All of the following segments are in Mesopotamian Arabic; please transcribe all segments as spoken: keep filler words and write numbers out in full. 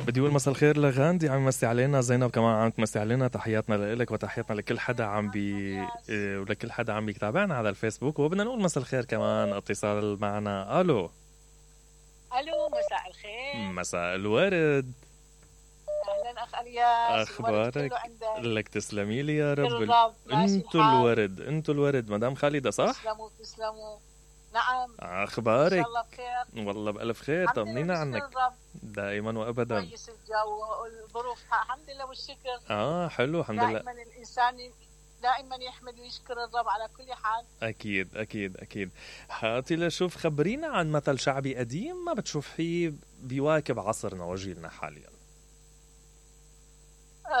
بدي اقول مساء الخير لغاندي، عم يمسي علينا. زينب كمان عم تمسي علينا. تحياتنا لك وتحياتنا لكل حدا عم بي ولكل حدا عم بيتابعنا على الفيسبوك. وبدنا نقول مساء الخير كمان اتصال معنا. الو الو مساء الخير. مساء الورد. اهلا اخ الياس. اخبارك؟ لك تسلمي لي يا رب. الرب. انتو الورد انتو الورد مدام خالدة صح؟ تسلموا تسلموا. نعم. اخبارك؟ ان شاء الله بخير. والله بألف خير. طمنينا عنك. دائما وابدا. كويس الجو والظروف الحمد لله والشكر. اه حلو الحمد لله. دائما الانسان دائما يحمد ويشكر الرب على كل حال. اكيد اكيد اكيد. هاتي لشوف، خبرينا عن مثل شعبي قديم ما بتشوفيه بيواكب عصرنا وجيلنا حاليا.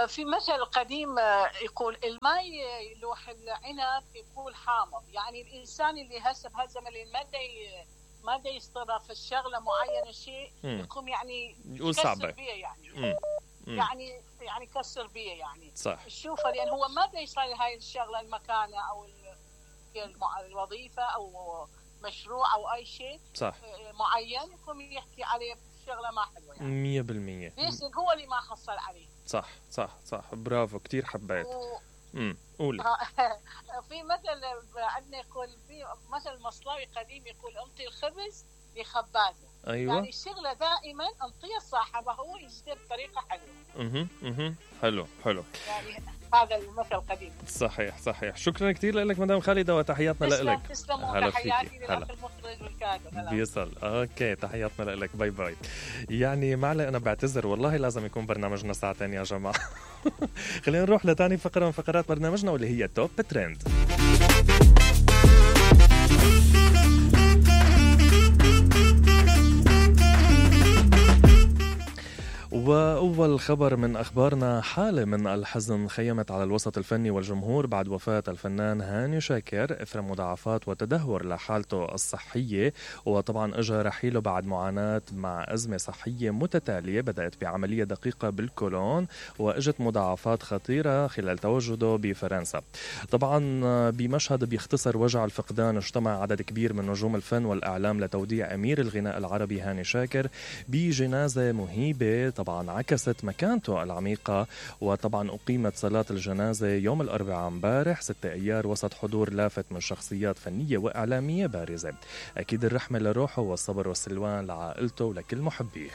في مثل قديم يقول الماء يلوح العنب يقول حامض. يعني الانسان اللي هسه بهالزمن اللي ما ما دا يستر في الشغله معينه شيء يقوم يعني يكسر بيه يعني مم. مم. يعني يعني يكسر بيه يعني صح. شوفه لان هو ما دا يصير هاي الشغله المكانه او الوظيفه او مشروع او اي شيء صح. معين يقوم يحكي عليه شغله ما حلوه يعني مية بالمية. ليش هو اللي ما حصل عليه. صح صح صح. برافو كتير حبيت. و... امم قولي. في مثل عندنا يقول في مثل مصلاوي قديم يقول انطي الخبز لخبازه. ايوه. يعني الشغله دائما انطيها صاحبه هو يشتغل بطريقه حلوه. اها اها حلو حلو. يعني هذا المثل القديم. صحيح صحيح. شكرا كثير لك مدام خالدة وتحياتنا لك. تسلموا. تحياتي للاخ المخرج والكاتب. بيصل. اوكي تحياتنا لك. باي باي. يعني معلي انا بعتذر والله لازم يكون برنامجنا ساعتين يا جماعه. خلينا نروح لتاني فقره من فقرات برنامجنا واللي هي توب ترند. وأول خبر من أخبارنا، حالة من الحزن خيمت على الوسط الفني والجمهور بعد وفاة الفنان هاني شاكر إثر مضاعفات وتدهور لحالته الصحية. وطبعا أجى رحيله بعد معاناة مع أزمة صحية متتالية بدأت بعملية دقيقة بالكولون وأجت مضاعفات خطيرة خلال تواجده بفرنسا. طبعا بمشهد بيختصر وجع الفقدان اجتمع عدد كبير من نجوم الفن والإعلام لتوديع أمير الغناء العربي هاني شاكر بجنازة مهيبة طبعا عكست مكانته العميقة. وطبعا أقيمت صلاة الجنازة يوم الأربعاء امبارح ستة أيار وسط حضور لافت من شخصيات فنية وإعلامية بارزة. أكيد الرحمة لروحه والصبر والسلوان لعائلته ولكل محبيه.